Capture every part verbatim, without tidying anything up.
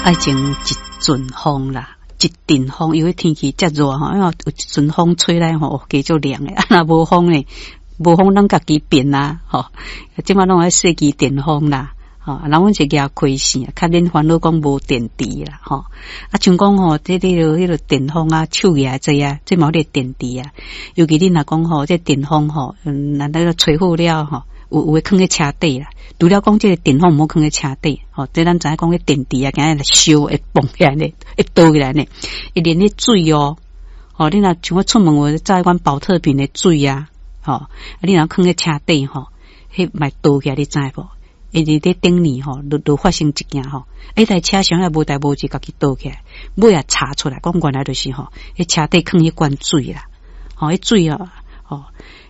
愛前一陣風啦，一陣風，因為天氣遮熱吼，因為有一陣風吹來吼，加足涼的。啊，若無風呢，無風攏家己變啊，吼。這馬攏愛設計電風啦，吼。啊，阮是舉開扇，較免煩惱講無電池啦，吼。啊，像講吼，這個彼個電風啊，手舉這啊，這嘛有電池啊。尤其恁若講吼，這電風吼，嗯，難得吹好了吼，有有的囥佇車底啦。除了講這個電風毋好囥佇車底，吼，這咱知影講彼電池啊，今日燒會膨起來呢，會倒起來呢，會連彼水哦，吼，你若像我出門有載阮寶特瓶的水啊，吼，啊，你若囥佇車底吼，彼嘛倒起來，你知無？因為佇頂年吼，就就發生一件吼，彼台車廂也無代無誌，家己倒起來，尾仔查出來，講原來就是吼，彼車底囥彼罐水啦，吼，彼水哦，吼，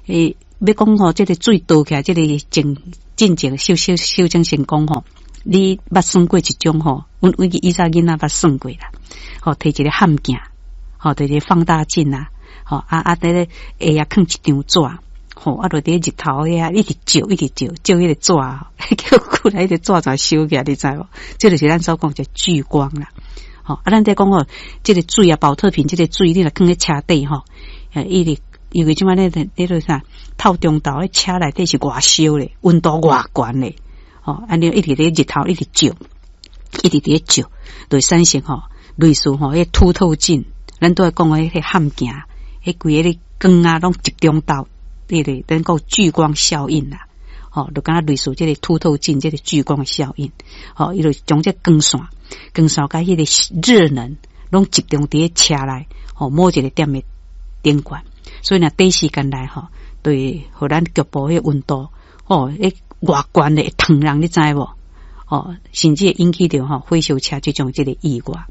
欸，欲講吼，這個水倒起來，這個真進前修修修正成功吼，你捌算過一種吼，阮阮以前囡仔捌算過啦，吼，提一個譀鏡，吼，提一個放大鏡啊，吼，啊啊，佇咧下仔囥一張紙，吼，啊，就佇日頭遐一直照，一直照，照彼個紙，結果來彼個紙就燒起來，你知無？這就是咱所講的聚光啦，吼，啊，咱佇講吼，這個水啊，寶特瓶，這個水，你若囥佇車底吼，一直。因為這擺咧，咧個啥透中晝，彼車內底是偌燒咧，溫度偌懸咧，吼，按呢一直佇日頭一直照，一直佇咧照，就會產生吼類似吼彼凸透鏡，咱都會講的彼個譀鏡，彼規个光啊，攏集中到，彼個咱講聚光效應啦，吼，就敢若類似這個凸透鏡，這個聚光效應，吼，伊就將這光線、光線佮彼個熱能攏集中佇咧車內，吼，某一個點的頂懸。所以若短時間內吼，對，予咱局部彼溫度，吼，會偌懸的會燙人，你知無？吼，甚至會引起著吼火燒車這種這個意外。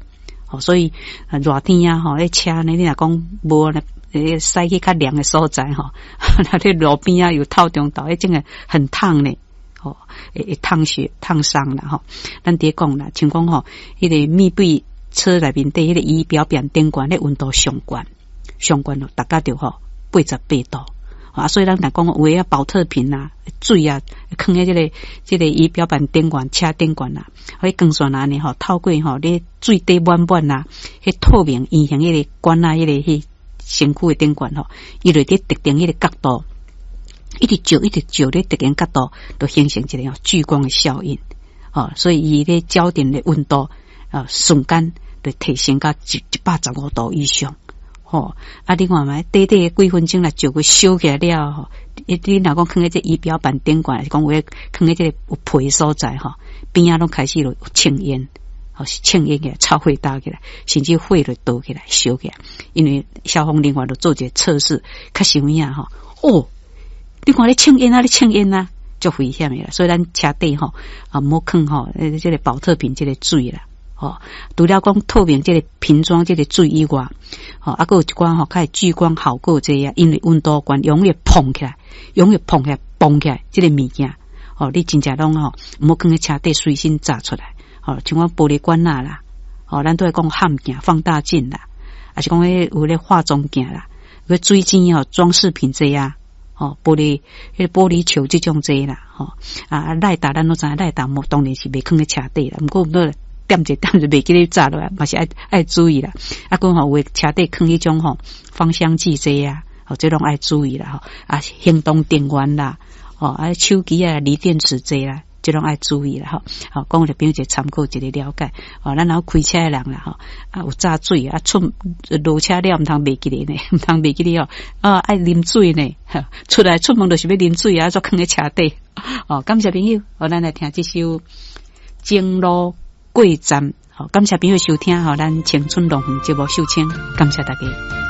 吼，所以熱天啊，吼，彼車呢，你若講無咧，駛去較涼的所在吼，若佇路邊啊，又透中晝，彼真的很燙呢，吼，會會燙血、燙傷啦，吼。咱佇咧講啦，像講吼，彼個密閉車內面底彼個儀表板頂懸，彼溫度上懸。上懸咯，大概著吼八十八度啊，所以咱若講有的寶特瓶啊、水啊，囥佇這個這個儀表板頂懸、車頂懸啊，彼光線按呢吼，透過吼，你水底滿滿啊，彼透明圓形彼個管仔，彼個彼身軀的頂懸吼，伊就佇特定彼個角度，一直照，一直照咧特定角度，就形成一個聚光的效應，吼，所以伊咧焦點的溫度啊，瞬間就提升到一一百十五度以上。吼，啊！你看覓，短短幾分鐘來照個燒起來了吼，你你若講囥佇這儀表板頂懸，是講有囥佇這個有皮所在吼，邊仔攏開始有青煙，吼是青煙起來，臭火焦起來，甚至火就著起來燒起來。因為消防人員就做一個測試，確實有影吼。哦，你看咧青煙啊，咧青煙啊，足危險的啦。所以咱車底吼啊，毋好囥吼，這個寶特瓶這個水啦。吼，除了講透明這個瓶裝這個水以外，吼，啊，閣有一寡吼，較會聚光效果這啊，因為溫度懸，容易膨起來，容易膨起來，膨起來，這個物件，吼，你真正攏吼，毋好囥佇車底隨身紮出來，吼，像講玻璃管仔啦，吼，咱都會講譀鏡、放大鏡啦，抑是講彼有咧化妝鏡啦，個水晶吼裝飾品這啊，吼，玻璃，彼個玻璃球這種這啦，吼，啊，賴達咱攏知影，賴達無當然是袂囥佇車底啦，毋過毋過。點一點就袂記咧紮落來，嘛是愛愛注意啦。啊，閣吼有的車底囥彼種吼芳香劑這啊，吼這攏愛注意啦吼。啊，行動電源啦，吼啊手機啊鋰電池這啦，這攏愛注意啦吼。好，講予朋友一個參考，一個了解。吼，咱若有開車的人啦吼，啊有紮水啊出落車了，毋通袂記咧呢，毋通袂記咧哦。啊，愛啉水呢，出來出門就是欲啉水啊，煞囥佇車底。哦，感謝朋友，好，咱來聽這首《情路過站》。好，感謝朋友收聽，吼，咱青春樂園節目收聽，感謝大家。